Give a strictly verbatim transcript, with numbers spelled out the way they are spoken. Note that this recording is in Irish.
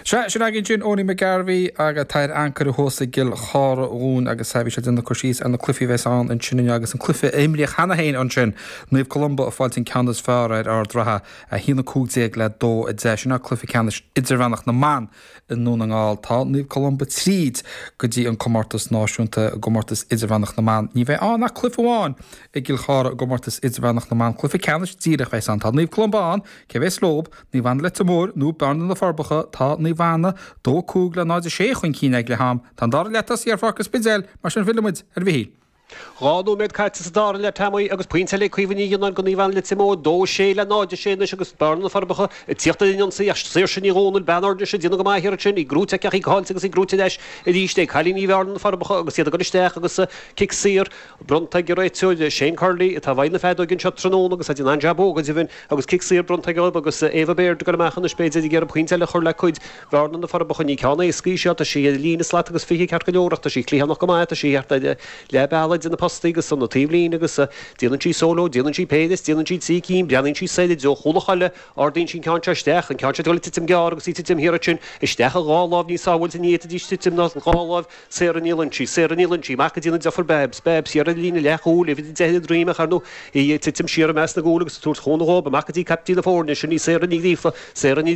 Sea, sin againn sin Owenie McGarvey agus tá ar ancaire thuas i gCill Chartha dhúinn agus bhí sé ag déanamh cur síos ar na cluichí a bheas ann ansin inniu agus an cluiche a imríodh cheana féin ansin Naomh Columba ag fáilt an ceann is fearr ar Ard Ratha a haon a cúig déag le dó a deich. Sin cluiche ceannais idirmheánach na mban i nDún na nGall. Tá Naomh Columba tríd go dtí an comórtas náisiúnta i gcomórtas idirmheánach na mban. Ní bheidh ann ach cluiche amháin i gCill Chartha i gcomórtas idirmheánach na mban cluiche ceannais díreach bheas ann. Tá Naomh Columba ann, cé bheas leo, Naomh Anna Leitir Móir nó Bearna na Forbacha tá Naomh Anna dó cúig le náid a sé chun cinn ag leath ama. Tá an dara leath tosaithe ar Pháirc an Spidéil mar sin fillfimid ar Mhichíl. Dhá nóiméad caite sa dara leath Tommy agus pointe eile Caoimhe Ní Ghionnáin go Naomh Anna Leitir Móir dó sé le náid sé anois agus Bearna na Forbacha ag tíocht ar an ionsaí ach Saoirse Ní Dhomhnaill bean Ardnis déanamh go maith sin í gnóite aici í caillte agus í gnóite leis arís é cailíní Bhearna na Forbacha agus iad ag dul isteach agus cic saor bronnta ag réiteoir Shane Curley atá bhain na feadóg anseo tráthnóna agus an an-jab go deimhin agus cic saor bronnta aige agus Eva Baird go amach anois b'fhéidir ag iarraidh pointe eile chur le cuid Bhearna na Forbacha ní ceann éasca seo tá sí ar líne slat agus fiche ceart go leor tá sí cliathánach go maith tá sí le beala de na postaí agus san na taobhlíne agus déanann sí solo, déanann sí péire, déanann sí trí cinn, breathnaíonn sí soir deo chúla choile, ardaíonn sí ceann seo isteach, an ceann seo titim gearr agus í titim thiar sin isteach a dhá lámh ní sábháilte ní fhéadfaidís titim ná dhá lámh Sarah Ní Loinsigh, Sarah Ní Loinsigh, amach go dtí na deirfiúr Babs, Babs siar ar líne leathchúil, uimhir deich droim ach ar nó í titim siar i measc na gcúl agus tabhairt chun dhób amach go dtí captaen na foirne sin í Sarah Ní Ghríofa, Sarah Ní